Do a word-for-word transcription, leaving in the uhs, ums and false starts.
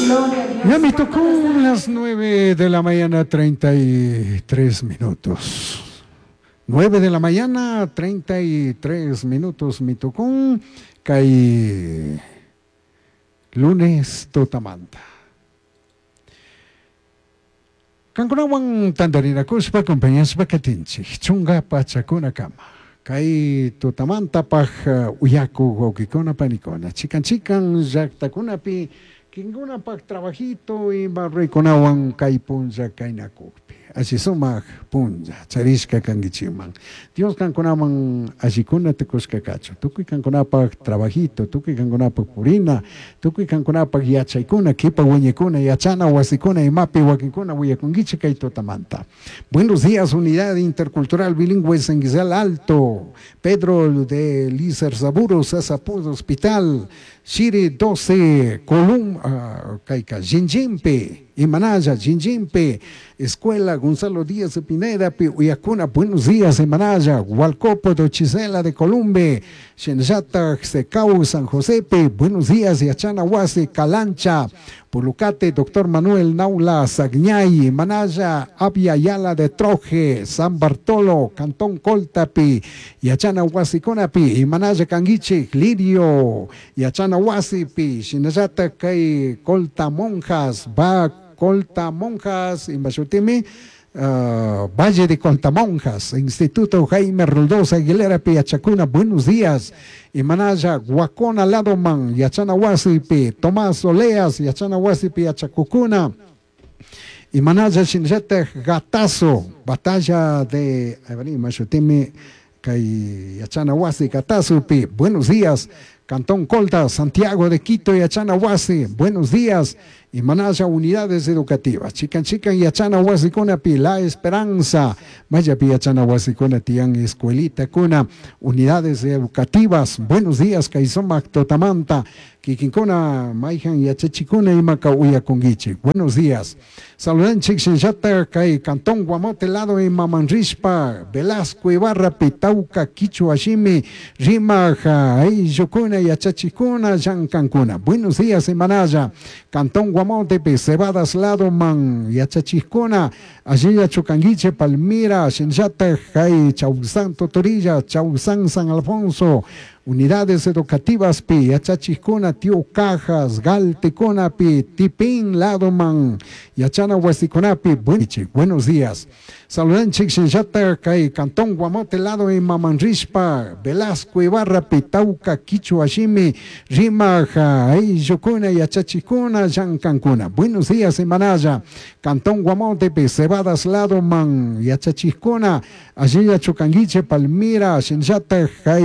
Gloria a Dios. Ya me tocó las nueve de la mañana, treinta y tres minutos. Nueve de la mañana, treinta y tres minutos, me tocó kay lunes tutamanta. Kankunawan tantarinakuspa compañaspa katinchik, chunga pachakuna kama. Kay tutamantapaj uyaku wawqikuna panikuna, chikan chikan llaqtakunapi kinkunapaj trabajito ima ruykunawan kay punlla kaynakukpi. Alli sumaq punlla charishka kankichikman. Dios kankunaman allikuna tukushka kachun. Tukuy kankunapaj trabajito, tukuy kankunapaj purina, tukuy kankunapaj yachaykuna, kipa wiñaykuna, yachana wasikuna, imapi wakinkuna willakunkichik kay tutamanta. Buenos días, Unidad Intercultural Bilingüe San Guisal Alto, Pedro de Lizarzaburu, Sasapuz Hospital, Shiri doce, Colum, uh, kayka, Jinjimpi, Imanaya, Jinjimpi, Escuela Gonzalo Díaz de Pineda, pi, Uyacuna, buenos días, Imanaya, Hualcopo de Chisela de Columbe, Shenjata, Secau, San Josepe, buenos días, Yachana Huasi, Calancha, Pulucate, Doctor Manuel Naula, Sagñay, Imanaya, Abya Yala de Troje, San Bartolo, Cantón Coltapi, Yachana Huasiconapi, Imanaya Canguiche, Lirio, Yachana Huasipi, Shinayata Kay, Colta Monjas, Va Colta Monjas, Imbashutimi, uh, Valle de Coltamonjas, Instituto Jaime Roldós Aguilera Piachacuna, buenos días. Imanaya, Guacona Ladoman, Yachana Huasipi, Tomás Oleas, Yachana Huasipi, Yachacucuna. Imanaya Shinjete Gatazo, batalla de Imbashutimi, Kay Yachana Huasi, Gatazo, pi, buenos días. Cantón Colta, Santiago de Quito, Yachana Huasi, buenos días. Imanaya unidades educativas, Chican Chican, Yachana Huasi, Cuna, pi, La Esperanza, Maya pi, Yachana Huasi, Cuna, Tian, Escuelita, Cuna, unidades educativas, buenos días, Kaizomac, Totamanta, Kikinkuna, Maijan, Yachachicuna, Imaca, Uyaconguichi, buenos días. Saludan Chichinchata, Kay, Cantón Guamote, Lado, y Mamanrispa, Velasco, Ibarra, Pitauca, Quichua, Shimi, Rimaja, Ayucuna, Yachachicuna, Yancancuna. Buenos días, Imanaya, Cantón Guamote, Cebadas, Lado, Man, Yachachicuna, Allí Chucanguiche, Palmira, Shinchata, Jai, Chausán, Totorilla, Chausán, San Alfonso, unidades educativas, pi, Yachachicuna, Tío Cajas, Galtecona, pi, Tipín, Ladoman, Yachana, Huasiconapi, buenos días. Saludan Chichinchata, Kay, Cantón Guamote, Lado y Mamanrispa, Velasco, Ibarra, Pitauca, Quichua, Shimi, Rimaja, Ayucuna, Yachachicuna, Yancancuna. Buenos días, Imanaya, Cantón Guamote, pi, Cebadas, Ladoman, Yachachicuna, Allí Chucanguiche, Palmira, Shinchata, Jai,